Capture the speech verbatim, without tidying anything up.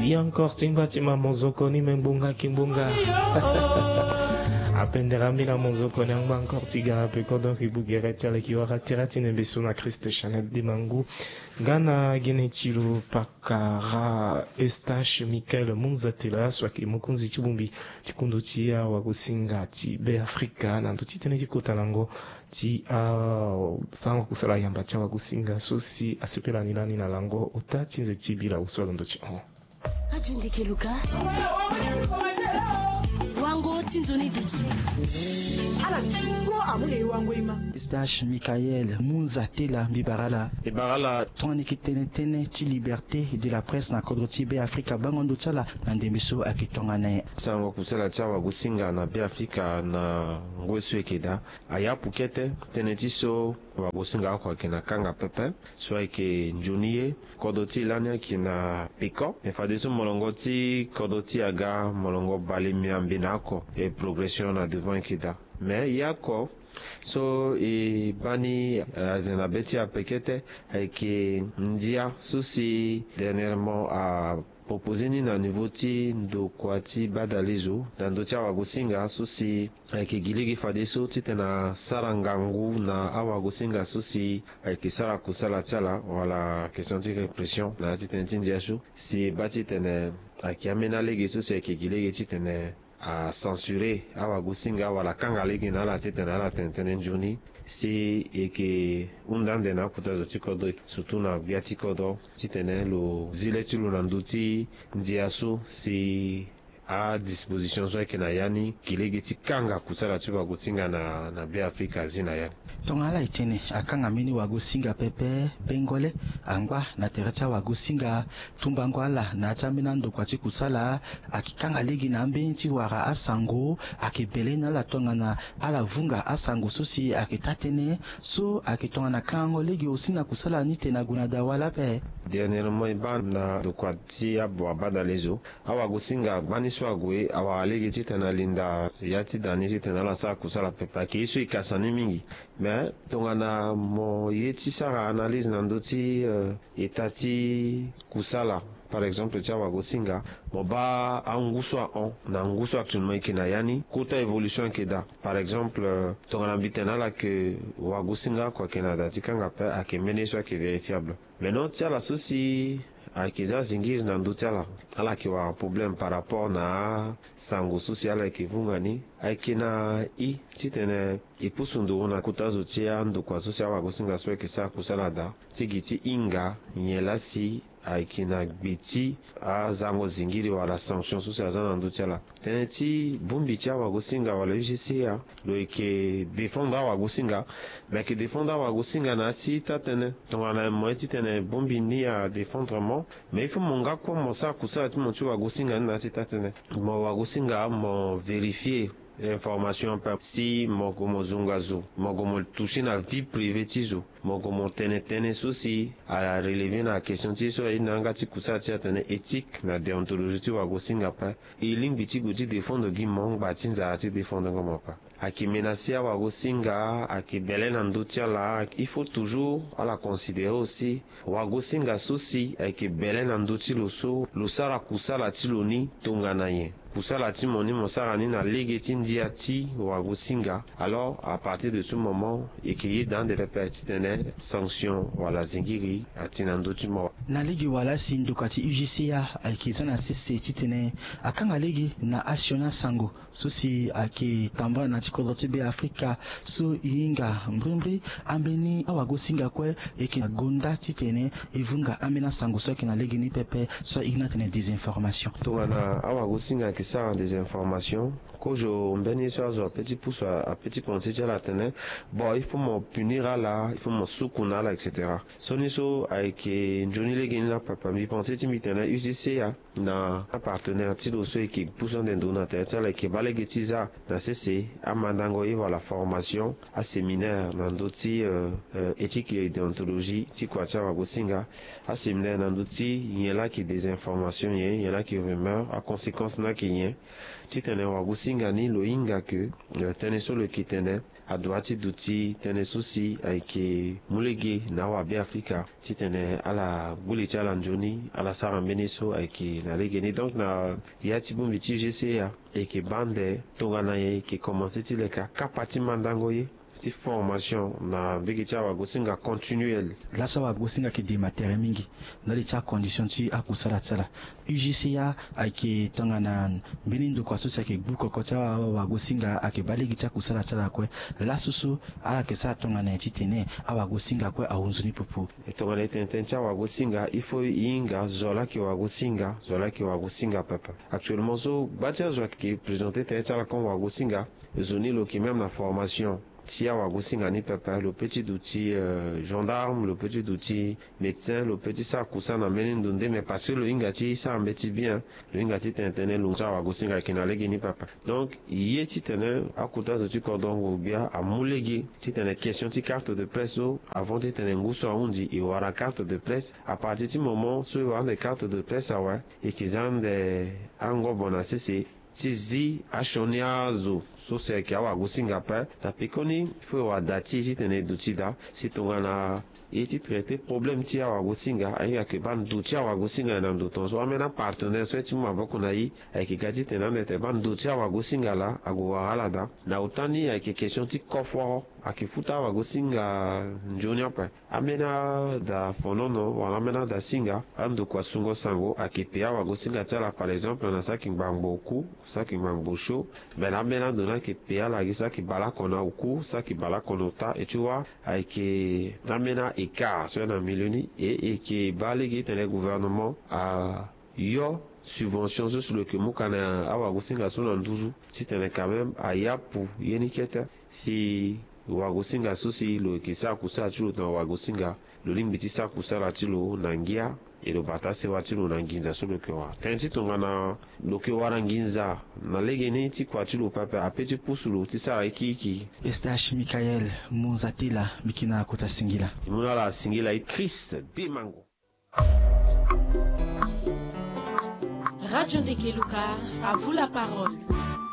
Ye encore ti ngba ti ma mozoko ni me ngbonga ki ngbonga. Apendere ambeni na mozoko ni angba encore ti ga na peko, donc e bugere ti ala e ki wara tere ti nembe so na Christ Chanel Demangu. Nga na gene ti lo pakara Eustache Michael Munzatela so ayeke mokonzi ti bongbi ti kondo ti awagosinga ti Be Afrika na ndö ti tënë ti kota lango ti asango kusala yamba ti awagosinga so si asepela ni lani na lango ota ti nze ti bilau so alondo ti hon. Radio Ndeke Luka. Wango ti nzoni duti. Ala ti ngo amu na e wango e ma. Eustache Michael Munzatela mbi bara ala. E bara ala. Tongana e yeke tene tënë ti liberté de la presse na kodro ti Be Afrika bango ndo ti ala na ndembe so ayeke tongana nyen? Sango kusala ti awagosinga na Be Afrika na ngoi so e yeke daa. Ayapu kete tënë ti so wagosinga oko ayeke na kanga pepe so ayeke nzoni ye. Kodro ti e lani ayeke na peko. Me fadeso molongo ti kodro ti e aga molongo bale miambe na oko. E progression na devant ayeke daa. Me ye oko so e baa ni aze na be ti e ape kete ayeke ndia so si dernièrement a proposer ni na niveau ti ndokua ti badalezo na ndö ti awagosinga so si ayeke gi lege fadeso titene asara ngangu na awagosinga so si ayeke sara kusala ti ala wala question ti répression na ya ti tënë ti ndia so si e baa titene ayeke ambeni alege so si ayeke gi lege titene a censurer awagosinga wala akanga lege na ala titene ala tene tënë nzoni. Si e yeke hunda ande na akota zo ti kodro surtout na gbia ti kodro titene lo zi le ti lo na ndö ti ndia so si adisposition so ayeke na ya ni gi lege ti kanga kusala ti wagosinga na na Be Afrika azi na ya ni. Tongana ala e tene akanga mbeni wagosinga pepe, bengole angba na tere ti awagosinga, tumbango ala na ya ti ambeni andokua ti kusala, ayeke kanga lege na ambeni ti wara asango, ayeke bele na ala tongana ala vunga asango so si ayeke taa-tënë so ayeke tongana kangango lege aussi na kusala ni tene ague na dawa lape. Dernièrement e baa na ndokua ti abo abadalezo, awagosinga gbani so ague awara lege titene alinda ya ti da ni titene ala sara kusala pepe, ayeke ye so e kasa ni mingi. Mais tongana mo ye ti sara analyse na ndö ti état ti kusala par exemple ti awagosinga, mo baa angu so ahon na ngu so actuellement e yeke na ya ni, kota évolution ayeke daa. Par exemple tongana mbi tene na ala ke wagosinga oko ayeke na da ti kanga ape, ayeke mbeni ye so ayeke vérifiable. Maintenant ti ala so si ayeke za zingiri na ndö ti ala, ala yeke wara problème par rapport na asango so si ala yeke vunga ni. Ayeke na i titene e pusu nduru na kota zo ti andokua so si awagosinga so ayeke sara kusala daa ti gi ti hinga nyen laa si ayeke na gbe ti azango zingiri wala sanction so si aza na ndö ti ala. Tënë ti bongbi ti awagosinga wala U G C A lo yeke défendre awagosinga. Me ayeke défendre awagosinga na ya ti taa-tënë. Tongana mo ye titene bongbi ni adéfendre mo, mais il faut mo nga kue mo sara kusala ti mo ti wagosinga ni na ya ti taa-tënë. Mo wagosinga mo vérifier information ape. Si mo gue mo zonga zo, mo gue mo toucher na vie privée ti zo, mo gue mo tene tënë so si arelever na question ti ye so aye na yanga ti kusala ti atene éthique na déontologie ti wagosinga ape, e lingbi ti gue ti défendre gi mo ngba ti nzara ti défendre ngo mo ape. Ayeke menacer awagosinga, ayeke bele na ndö ti ala. Il faut toujours ala considérer aussi wagosinga so si ayeke bele na ndö ti lo so lo sara kusala ti lo ni tongana nyen. Kusala ti mo ni mo sara ni na lege ti ndia ti wagosinga. Alors à partir de ce moment e yeke yeda ande pepe titene sanction wala zingiri ati na ndö ti mo. Na lege wala si ndokua ti U G C A ayeke za na sese titene akanga lege na asioni asango so si ayeke tambula na ya ti kodro ti Be Afrika so e hinga mbrimbri ambeni awagosinga kue e yeke na gonda titene e vunga ambeni asango so ayeke na lege ni pepe so e hiri ni atene désinformation. Tongana awagosinga ayeke sara désinformation, kozo mbeni ye so azo ape ti pusu ape ti pensé ti ala atene bon il faut mo punir ala, il faut mo suku na ala et cetera. Sioni so ayeke nzoni lege ni na papa mbi pensé ti mbi tene U G C A na apartenaire ti lo so e yeke pusu ande ndo na tere ti ala e yeke baa lege ti za na sese amandango ye wala formation aséminaire na ndö ti éthique et déontologie ti kua ti awagosinga, aséminaire na ndö ti nyen laa ayeke désinformation nyen, nyen laa ayeke rumeur, aconséquence ni ayeke nyen. Titene wagosinga ni lo hinga ke tënë so lo yeke tene adua ti duti tënë so si ayeke mu lege na awabe afrika titene ala gbu li ti ala nzoni ala sara mbeni so ayeke na legeni. Donc na ya ti bongbi ti ugca, e yeke baa nde tongana nyen e yeke komanse ti leke akapa ti mandango ye ti formation na mbege ti awagosinga continuel. Laso awagosinga ayeke dema tere mingi ndali ti acondition ti akusala ti ala. Ugca ayeke tongana mbeni ndokua so si ayeke gbu koko ti awagosinga ayeke baa lege ti akusala ti ala kue. Laso so ala yeke sara tongana nyen titene awagosinga kue ahunzu ni popo? E tongana e tene tënë ti awagosinga il faut e hinga zo laa ayeke wagosinga zo laa ayeke wagosinga pepe. Actuellement so gba ti azo ayeke présenter tënë ti ala comme wagosinga, zo ni lo yeke même na formation ti awagosinga ni pepe. Lo peut ti duti gendarme, lo peut ti duti médecin, lo peut ti sara kusana mbeni ndo nde mais parce que lo hinga ti sara mbeti bien, lo hinga ti tene tënë lo ti awagosinga ayeke na legeni pepe. Donc ye titene akota zo ti kodro ngu-gbia amu lege titene question ti carte de presse so avant titene ngu so ahunzi e wara carte de presse. À partir ti moment so e wara ande carte de presse awe, e yeke za ande angobo na sese ti zi asioni azo so si ayeke awagosinga ape. Na pekoni fo e wara da ti e titene e duti daa si tongana e ye ti traiter problème ti awagosinga ahinga ayeke baa ndo ti awagosinga na ndo tongaso ambeni apartenaire so aye ti mu maboko na e ayeke ga titene ande tene baa ndo ti awagosinga laa ague wara ala daa. Na ota ni ayeke question ti koforo ayeke futa awagosinga nzoni ape. Ambeni ada fonono wala ambeni ada singa andokua sungo sango ayeke pe awagosinga ti ala par exemple na saki ngbangbo oku, saki ngbangbo sho. Mbela ambeni ando ni ayeke pe ala gi saki baleoko na oku, saki baleoko na ota. E ti wa ayeke ambeni a-écart so ya na milieu ni e e yeke baa lege titene gouvernement ayo subvention so si lo yeke mu ka na awagosinga so na nduzu titene quand même ayapu ye ni kete si wagosinga so si lo yeke sara kusala ti lo na wagosinga lo lingbi ti sara kusala ti lo na ngia. E lo bata sewa ti lo na nginza so lo yeke wara tënë ti tongana lo yeke wara nginza na legeni ti kua ti lo pepe ape ti pusu lo ti sara iki iki. Eustache Michael Munzatela, mbi yeke na kota singila. E mu na ala singila e. Christ Demango. Radio Ndekeluka, à vous la parole.